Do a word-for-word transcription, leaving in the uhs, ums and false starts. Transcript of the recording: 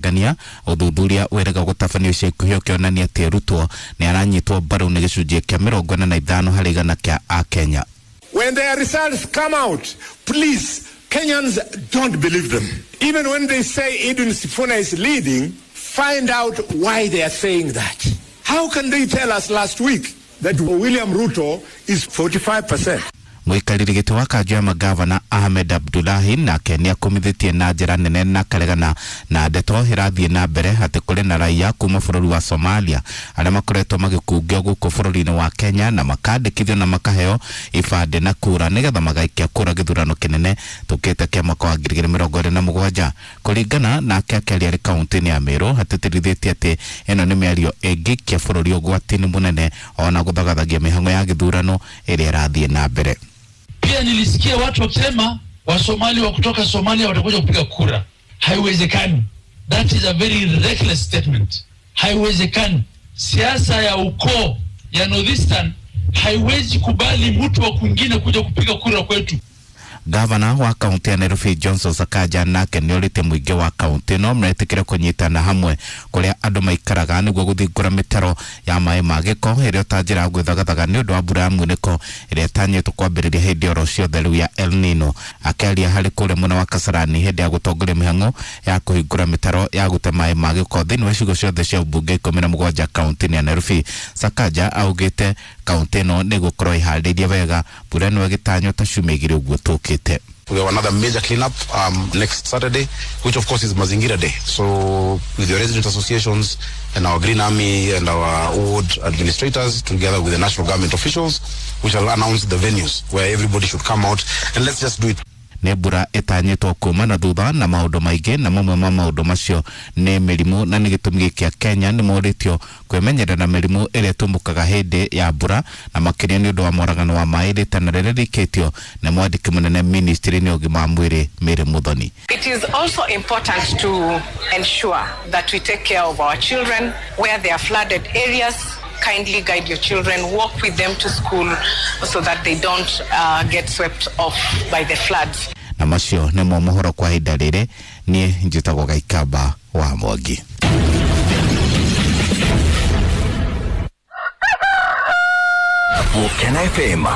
Gania uthuthuria wĩrĩga gũtabanio ica ikuhĩ ũkĩonania atĩ Ruto nĩ aranyitwo mbaru nĩ gĩcunjĩ kĩa mĩrongo ĩna na ithano harĩ igana kĩa Akenya. When their results come out, please, Kenyans, don't believe them. Even when they say Edwin Sifuna is leading, find out why they are saying that. How can they tell us last week that William Ruto is forty-five percent? Mũikarĩri gĩtĩ wa kanjũ ya magavana Ahmed Abdullahi nake nĩ akomithĩtie na njĩra nene na karegana na ndeto ĩrathiĩ na mbere atĩ kũrĩ na raia kuma bũrũri wa Somalia arĩa makoretwo magĩkungio gũkũ bũrũri-inĩ wa Kenya na makandĩkithio na makaheo ibandĩ na kura nĩgetha magaikia kura gĩthurano kĩnene tũkĩte kĩa mwaka wa ngiri igĩrĩ mĩrongo ĩrĩ na mũgwanja. Kũringana nake akĩaria arĩ kaũntĩ-inĩ ya Meru atĩtĩrithĩtie atĩ ĩno nĩ mĩario ĩngĩikia bũrũri ũgwati-inĩ mũnene ona gũthagathagia mĩhang'o ya gĩthurano ĩrĩa ĩrathiĩ na mbere. Pia nilisikia watu wakisema Wasomali wa kutoka Somalia watakuja kupiga kura. Haiwezekani. That is a very reckless statement. Haiwezekani. Siasa ya ukoo ya Northeastern haiwezi kubali mtu wa kwingine kuja kupiga kura kwetu. Gavana wa kaunti ya Nairobi Johnson Sakaja nake nĩorĩtie mũingĩ wa kaunti no metĩkĩre kũnyitana hamwe kũrĩa andũ maikaraga nĩguo gũthingũra mĩtaro ya maĩ ma gĩko ĩrĩa ta njĩra ya gwĩthagathaga nĩ ũndũ wa mbura ya munĩko ĩrĩa ĩtanyĩtwo kwambĩrĩria hĩndĩ oro ciothe rĩu ya El Nino. Akĩaria harĩ kũrĩa mwena wa Kasarani hĩndĩ ya gũtongoria mĩhang'o ya kũhingũra mĩtaro ya gũte maĩ ma gĩko thĩinĩ wa icigo ciothe cia ũmbunge ikũmi na mũgwanja kaunti-inĩ ya Nairobi, Sakaja augĩte kaunti ĩno nĩ ĩgũkorwo ĩharĩirie wega mbura ĩno ĩgĩtanywo ta ciumia igĩrĩ ũguo tũkĩte. We have another major cleanup um, next Saturday, which of course is Mazingira Day. So with the resident associations and our Green Army and our ward administrators, together with the national government officials, we shall announce the venues where everybody should come out and let's just do it. Nĩ mbura ĩtanyĩtwo kuma na thutha na maũndũ maingĩ na mamwe ma maũndũ macio nĩ mĩrimũ na nĩ gĩtũmi gĩkĩ Kenya nĩ morĩtio kwĩmenyerera na mĩrimũ ĩrĩa ĩtumũkaga hĩndĩ ya mbura na makĩria nĩ ũndũ wa moragano wa maĩ rĩtana rĩrĩa rĩikĩtio nĩ mwandĩki mũnene ministry-inĩ ya ũgima wa mwĩrĩ Mary Muthoni. It is also important to ensure that we take care of our children where they are flooded areas. Kindly guide your children, walk with them to school so that they don't uh, get swept off by the floods. Na macio nĩmo mohoro kwa ihinda rĩrĩ, niĩ njĩtagwo Gaikamba wa Mwangi. Volcano F M.